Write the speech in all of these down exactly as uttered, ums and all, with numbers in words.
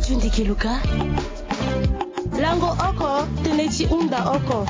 Tindiki luka lango oko, tënë ti hunda oko.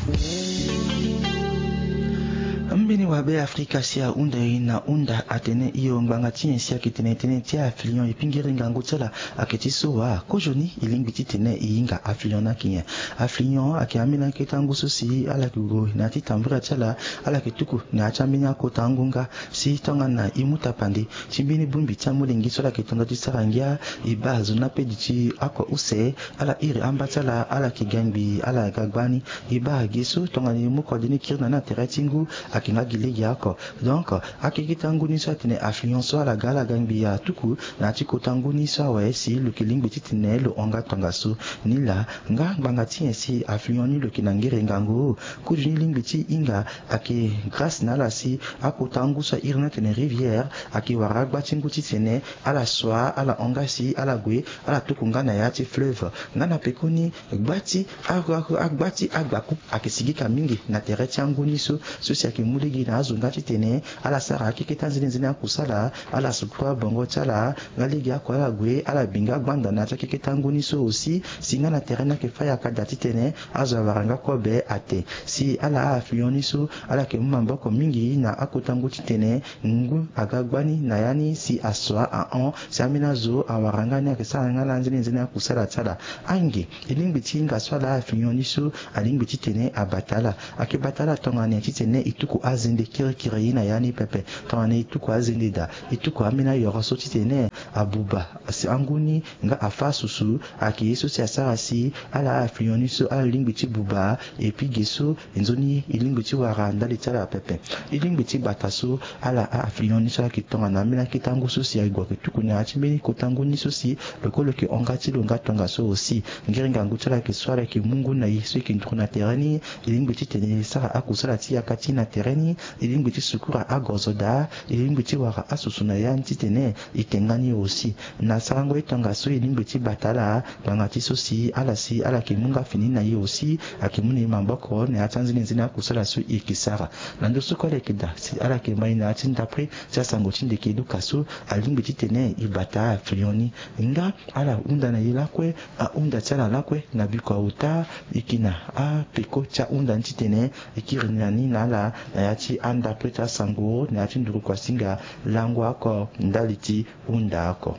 Mbeni wabe Afrika si ahunda e na hunda atene hio ngbanga ti nyen si ayeke tene tënë ti afilion epingiri ngangu ti ala. Ayeke ti so wa kozoni e lingbi titene e hinga afilion ni ayeke nyen? Afilion ayeke ambeni akete angu so si ala yeke gue na ya ti tambira ti ala. Ala yeke tuku na ya ti ambeni akota angu nga si tongana e mu tapande ti mbeni bongbi ti amolenge so ala yeke to nda ti sara ngia, e baa zo ni ape duti oko use. Ala iri amba ti ala, ala yeke ga ngbii, ala ga gbani. E baa ge so tongana e mu kode ni kiri na ni na tere ti ngu, ayeke nga gi lege oko. Donc akekete angu ni so atene afilion so ala ga, ala ga ngbii atuku na ya ti kota ngu ni so awe si lo yeke lingbi titene lo hon nga tongaso. Nilaa nga ngbanga ti nyen si afilion ni lo yeke na ngere ngangu? Kozoni lingbi ti hinga ayeke grâce na ala si akota angu so a iri ni atene rivière ayeke wara agba ti ngu titene ala sua, ala hon nga si ala gue, ala tuku nga na ya ti fleuve. Nga na pekoni gba ti a- a- agba ti agbaku ayeke sigika mingi na tere ti angu ni so, so si ayeke mu lege na azo nga titene ala sara akekete anzene nzene akusala, ala sukuru abongo ti ala nga lege oko ala gue, ala bi nga gbanda na ya ti akekete angu ni so aussi. Si nga na tere ni ayeke fâ yaka daa titene azo awara nga kobe ate. Si ala a-afilion ni so ala yeke mu maboko mingi na akota ngu titene ngu aga gbani na ya ni si asua ahon, si ambeni azo awara nga ni ayeke sara nga na anzene nzene akusala ti ala. Ange e lingbi ti hinga so ala a-afilion ni so alingbi titene abata ala. Ayeke bata ala tongana nyen titene e tuku azende kirikiri na ya ni pepe? Tongana e tuku azende daa, e tuku ambeni ayoro so titene abuba si angu ni nga afâ susu. Ayeke ye so si asara si ala a-afilion ni so ala lingbi ti buba. Et puis ge so nzoni e lingbi ti wara ndali ti ala pepe. E lingbi ti bata so ala a-afilion ni so ala yeke tongana ambeni akete angu so si ague ayeke tuku na ya ti mbeni kota ngu ni so si lo kue lo yeke hon nga ti lo nga tongaso aussi. Ngiri ngangu ti ala yeke so ala yeke mu ngu na e so e yeke nduru na tere ni. E lingbi titene e sara akusala ti yaka ti e na tere ni. E lingbi ti sukura agozo daa. E lingbi ti wara asusu na ya ni titene e tenga ni aussi. Na sarango ye tongaso e lingbi ti bata ala ngbanga ti so si ala si ala yeke mu nga fini na e aussi, ayeke mu na e maboko na ya ti anzene nzene akusala so e yeke sara. Na ndo so kue ala yeke daa si ala yeke ma e na ya ti ndapre ti asango ti ndeke luka so, alingbi titene e bata afilion ni. Nga ala hunda na e lakue, ahunda ti ala lakue na biko aota. E yeke na apeko ti ahunda ni titene e kiri na ni na ala na ya ti andapre ti asango na ya ti nduru kuasinga. Lango oko ndali ti hunda oko.